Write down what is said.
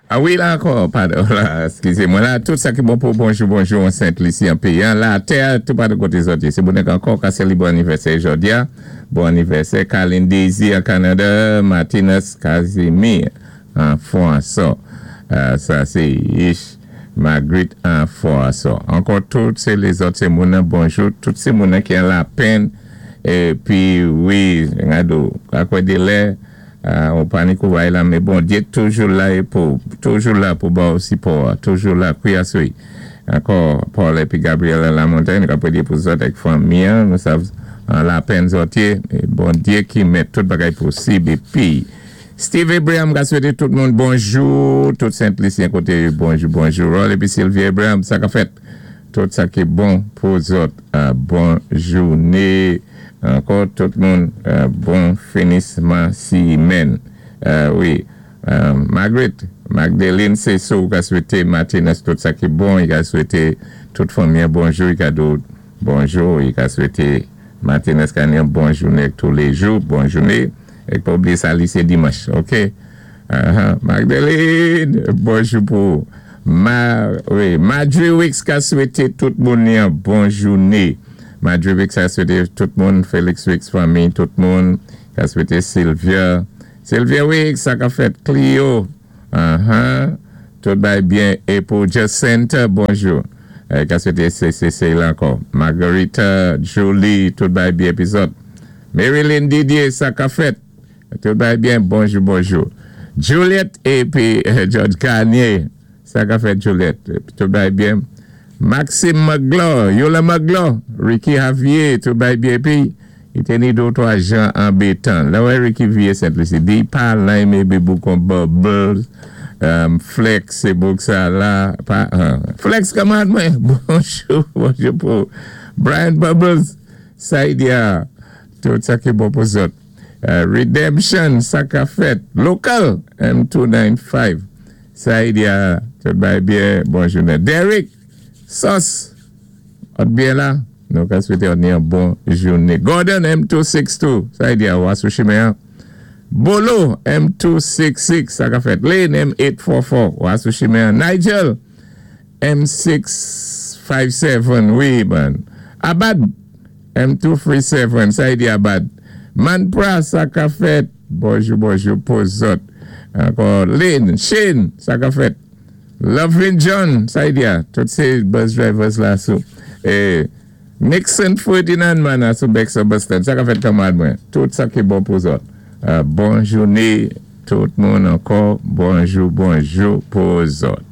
A wi, la ankò, padon, la, eskizé mwen la, tout sa ki bon pou bonjou, bonjou an Sent Lisi an péyi an, la tè, tout patou koté zòt yé. Sé bonè ankò ka séli bon anivèsè jòdi a, bon anivèsè Carlin Daisy an Kanada, Martinez Casimir an Fwanso. Sa sé Ish Marguerite an Fwanso. Ankò tout sé lézòt sé moun nan bonjou, tout sé moun nan ki an lapenn, épi wi, gado, akwè dé lè, ou pa ni kouray la, mé Bondyé toujou la é pou, toujou la pou ba ou sipò a, toujou la, kwiyasoy. Ankò, Paul épi Gabriella Lamontagne, nou ka pwédyé pou zòt ak fanmi an, nou sav an lapenn zòt yé, mé Bondyé ki mèt tout bagay posib épi Steve Abraham ka swété tout moun bonjou, tout Sent Lisyen koté bonjou bonjou, Rol épi Sylvie Abraham, sa ka fèt? Tout sa ki bon pou zòt, bon jouné ankò tout moun, bon finisman simèn. Wi, Margaret, Magdeline Ceso ou ka swété Martinez tout sa ki bon, i ka swété tout fanmi an bonjou, i ka di ou bonjou, i ka swété Martinez ka ni yon bon jouné tou lé jou, bon jouné, é pa oubliyé sa li sé dimanch, ok. Magdeline, bonjou pou ou. Ma, wi, Madry Wicks ka swété tout moun yon bon jouné. Madry Wicks ka swété tout moun, Felix Wicks fanmi, tout moun, ka swété Sylvia. Sylvia Wicks, sa ka fèt Clio. Tout bay byen. É pou Jacinta, bonjou. Ka swété CCC la ankò. Margarita, Julie, tout bay byen épi zòt. Marilyn Didier, sa ka fèt. Tout bay byen, bonjou, bonjou. Juliette épi George Garnier, sa ka fèt Juliette? Tout bay byen. Maxime Magloire, Yola Magloire, Ricky Javier, tout bay byen épi i té ni dé twa jan anbétan. Lè wè Ricky vié Sent Lisi, di pa lime épi boukon bubbles, Flex, sé bouk sa la, pa, Flex kanmarad mwen, bonjou, bonjou pou Brian Bubbles, Saidia, tout sa ki bon pou zòt. Redemption, sa ka fèt? Local, M295, Saidia, tout bay byen, bon jounen. Derek, Sos, òt byen la, nou ka swété òt ni yon bon jouné. Gordon, M262, Saidia, ou sou chimen an. Bolo, M266, sa ka fèt? Lane, M844, ou sou chimen an. Nigel, M657, wi, man. Abad, M237, Saidi Abad. Manpra, sa ka fèt? Bonjou, bonjou, pou zòt. Ankò, Lynn, Shane, sa ka fèt? Lovin John, Saidia, tout sé bus drivers la sou. É, Nixon Ferdinand man a sou Bexar Bus Stand, sa ka fèt kanmarad mwen? Tout sa ki bon pou zòt. Bon jouné, tout moun ankò, bonjou, bonjou pou zòt.